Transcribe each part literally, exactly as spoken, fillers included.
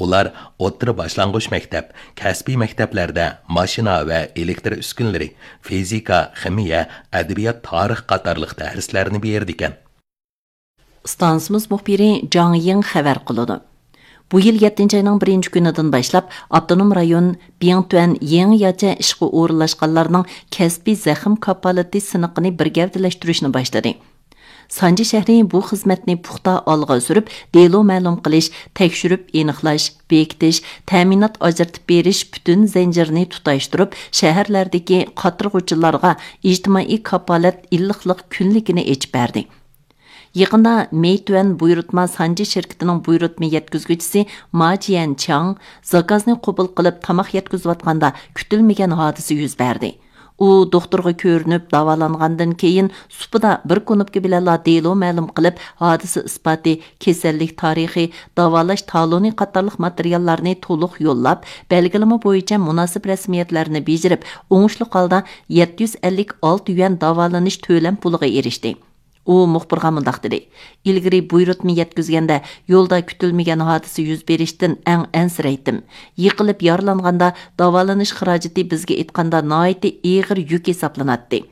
ئۇلار ئوتتۇرا باشلانغۇچ مەكتەپ، كەسپىي مەكتەپلەردە ماشىنا ۋە ئېلېكتر ئۈسكۈنىلىرى، فىزىكا، خىمىيە، ئەدەبىيات، تارىخ قاتارلىق دەرسلەرنى بېرىدىكەن. ئىستانسىمىز مۇخبىرى جاڭ يىڭ خەۋەر قىلىدۇ. بۇ يىل يەتتىنچى ئاينىڭ بىرىنچى كۈنىدىن باشلاپ، ئاپتونوم رايون بىڭتۈەن يېڭىچە ئىشقا ئورۇنلاشقانلارنىڭ كەسپىي زەخىم كاپالىتى سىنىقىنى بىر گەۋدىلەشتۈرۈشنى باشلىدى. سانجى شەھىرى بۇ خىزمەتنى پۇختا ئالغا سۈرۈپ، دېلو مەلۇم قىلىش، تەكشۈرۈپ ئېنىقلاش، بېكىتىش، تەمىنات ئاجرىتىپ بېرىش پۈتۈن زەنجىرىنى تۇتاشتۇرۇپ، شەھەرلەردىكى قاترىغۇچىلارغا ئىجتىمائىي كاپالەت ئىللىقلىق كۈنلۈكىنى ئېچىپ بەردى. يېقىندا مېيتۈەن بۇيرۇتما سانجى شىركىتىنىڭ بۇيرۇتما يەتكۈزگۈچىسى ما جيەنچاڭ زاكازنى قوبۇل قىلىپ، تاماق يەتكۈزۈۋاتقاندا كۈتۈلمىگەن ھادىسە يۈز بەردى. ئۇ دوختۇرغا كۆرۈنۈپ داۋالانغاندىن كېيىن، سۇپىدا بىر كۇنۇپكا بىلەنلا دېلو مەلۇم قىلىپ، ھادىسە ئىسپاتى، كېسەللىك تارىخى، داۋالاش تالونى قاتارلىق ماتېرىياللارنى تولۇق يوللاپ، بەلگىلىمە بويىچە مۇناسىپ رەسمىيەتلەرنى بېجىرىپ، ئوڭۇشلۇق ھالدا يەتتە يۈز ئەللىك ئالتە يۈەن داۋالىنىش تۆلەم پۇلىغا ئېرىشتى. ئۇ مۇخبىرغا مۇنداق دېدى: ئىلگىرى بۇيرۇتما يەتكۈزگەندە يولدا كۈتۈلمىگەن ھادىسە يۈز بېرىشتىن ئەڭ ئەنسىرەيتتىم. يىقىلىپ يارىلانغاندا داۋالىنىش خىراجىتى بىزگە ئېيتقاندا ناھايىتى ئېغىر يۈك ھېسابلىناتتى.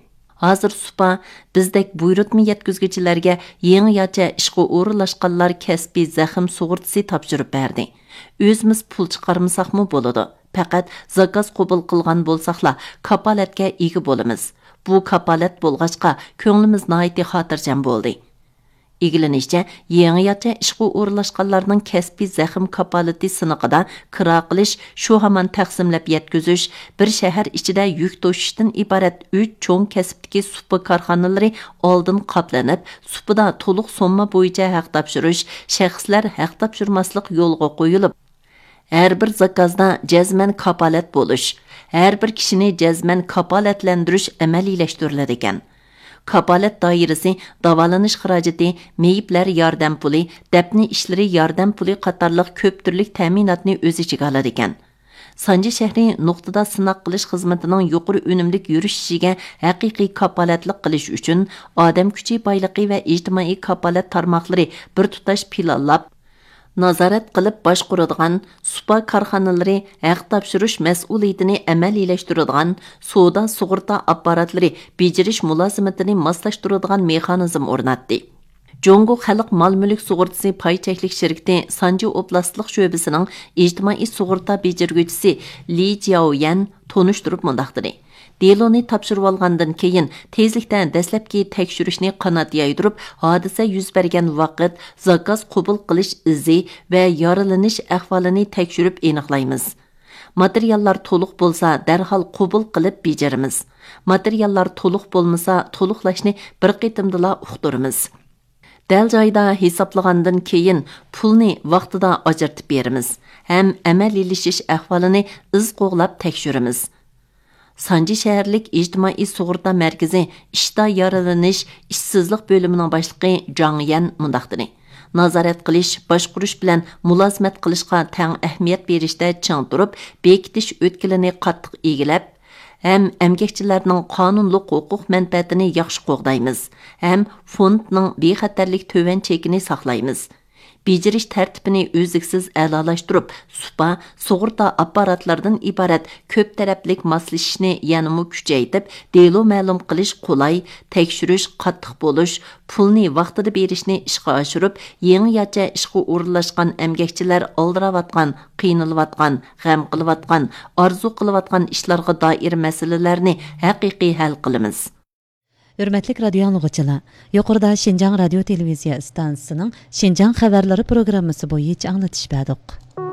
ھازىر سۇپا بىزدەك بۇيرۇتما يەتكۈزگۈچىلەرگە يېڭىچە ئىشقا ئورۇنلاشقانلار كەسپىي زەخىم سۇغۇرتىسى تاپشۇرۇپ بەردى. ئۆزىمىز پۇل چىقارمىساقمۇ بولىدۇ. پەقەت زاكاز قوبۇل قىلغان بولساقلا، كاپالەتكە ئىگە بولىمىز. بۇ كاپالەت بولغاچقا، كۆڭلىمىز ناھايىتى خاتىرجەم بولدى. ئىگىلىنىشىچە، يېڭىچە ئىشقا ئورۇنلاشقانلارنىڭ كەسپىي زەخىم كاپالىتى سىنىقىدا كىرا قىلىش، شۇ ھامان تەقسىملەپ يەتكۈزۈش، بىر شەھەر ئىچىدە يۈك توشۇشتىن ئىبارەت ئۈچ چوڭ كەسىپتىكى سۇپا كارخانىلىرى ئالدىن قاپلىنىپ، سۇپىدا تولۇق سومما بويىچە ھەق تاپشۇرۇش، شەخسلەر ھەق تاپشۇرماسلىق يولغا قويۇلۇپ، ھەر بىر زاكازدا جەزمەن كاپالەت بولۇش، ھەر بىر كىشىنى جەزمەن كاپالەتلەندۈرۈش ئەمەلىيلەشتۈرۈلىدىكەن. كاپالەت دائىرىسى داۋالىنىش خىراجىتى، مېيىپلەر ياردەم پۇلى، دەپنە ئىشلىرى ياردەم پۇلى قاتارلىق كۆپ تۈرلۈك تەمىناتنى ئۆز ئىچىگە ئالىدىكەن. سانجى شەھىرى نۇقتىدا سىناق قىلىش خىزمىتىنىڭ يۇقىرى ئۈنۈملۈك يۈرۈشۈشىگە ھەقىقىي كاپالەتلىك قىلىش ئۈچۈن، ئادەم كۈچى بايلىقى ۋە ئىجتىمائىي كاپالەت تارماقلىرى بىر تۇتاش پىلانلاپ، نازارەت قىلىپ باشقۇرىدىغان، سۇپا كارخانىلىرى ھەق تاپشۇرۇش مەسئۇلىيىتىنى ئەمەلىيلەشتۈرىدىغان، سودا سۇغۇرتا ئاپپاراتلىرى بېجىرىش مۇلازىمىتىنى ماسلاشتۇرىدىغان مېخانىزم ئورناتتى. جۇڭگو خەلق مال مۈلۈك سۇغۇرتىسى پاي چەكلىك شىركىتى سانجى ئوبلاستلىق شۆبىسىنىڭ ئىجتىمائىي سۇغۇرتا بېجىرگۈچىسى لى جياۋيەن تونۇشتۇرۇپ مۇنداق دېدى: دېلونى تاپشۇرۇۋالغاندىن كېيىن، تېزلىكتە دەسلەپكى تەكشۈرۈشنى قانات يايدۇرۇپ، ھادىسە يۈز بەرگەن ۋاقىت، زاكاز قوبۇل قىلىش ئىزى ۋە يارىلىنىش ئەھۋالىنى تەكشۈرۈپ ئېنىقلايمىز. ماتېرىياللار تولۇق بولسا، دەرھال قوبۇل قىلىپ بېجىرىمىز. ماتېرىياللار تولۇق بولمىسا، تولۇقلاشنى بىر قېتىمدىلا ئۇقتۇرىمىز. دەل جايىدا ھېسابلىغاندىن كېيىن، پۇلنى ۋاقتىدا ئاجرىتىپ بېرىمىز ھەم ئەمەلىيلىشىش ئەھۋالىنى ئىز قوغلاپ تەكشۈرىمىز. سانجى شەھەرلىك ئىجتىمائىي سۇغۇرتا مەركىزى ئىشتا يارىلىنىش، ئىشسىزلىق بۆلۈمىنىڭ باشلىقى جاڭ يەن مۇنداق دېدى: نازارەت قىلىش، باشقۇرۇش بىلەن مۇلازىمەت قىلىشقا تەڭ ئەھمىيەت بېرىشتە چىڭ تۇرۇپ، بېكىتىش ئۆتكىلىنى قاتتىق ئىگىلەپ، ھەم ئەمگەكچىلەرنىڭ قانۇنلۇق ھوقۇق مەنپەئەتىنى ياخشى قوغدايمىز ھەم فوندنىڭ بىخەتەرلىك تۆۋەن چېكىنى ساقلايمىز. بېجىرىش تەرتىپىنى ئۈزلۈكسىز ئەلالاشتۇرۇپ، سۇپا، سۇغۇرتا ئاپپاراتلىرىدىن ئىبارەت كۆپ تەرەپلىك ماسلىشىشنى يەنىمۇ كۈچەيتىپ، دېلو مەلۇم قىلىش قولاي، تەكشۈرۈش قاتتىق بولۇش، پۇلنى ۋاقتىدا بېرىشنى ئىشقا ئاشۇرۇپ، يېڭىچە ئىشقا ئورۇنلاشقان ئەمگەكچىلەر ئالدىراۋاتقان، قىينىلىۋاتقان، غەم قىلىۋاتقان، ئارزۇ قىلىۋاتقان ئىشلارغا دائىر مەسىلىلەرنى ھەقىقىي ھەل قىلىمىز. ھۆرمەتلىك رادىيو ئاڭلىغۇچىلار، يۇقىرىدا شىنجاڭ رادىيو تېلېۋىزىيە ئىستانسىسىنىڭ شىنجاڭ خەۋەرلىرى پروگراممىسى بويىچە ئاڭلىتىش بەردۇق.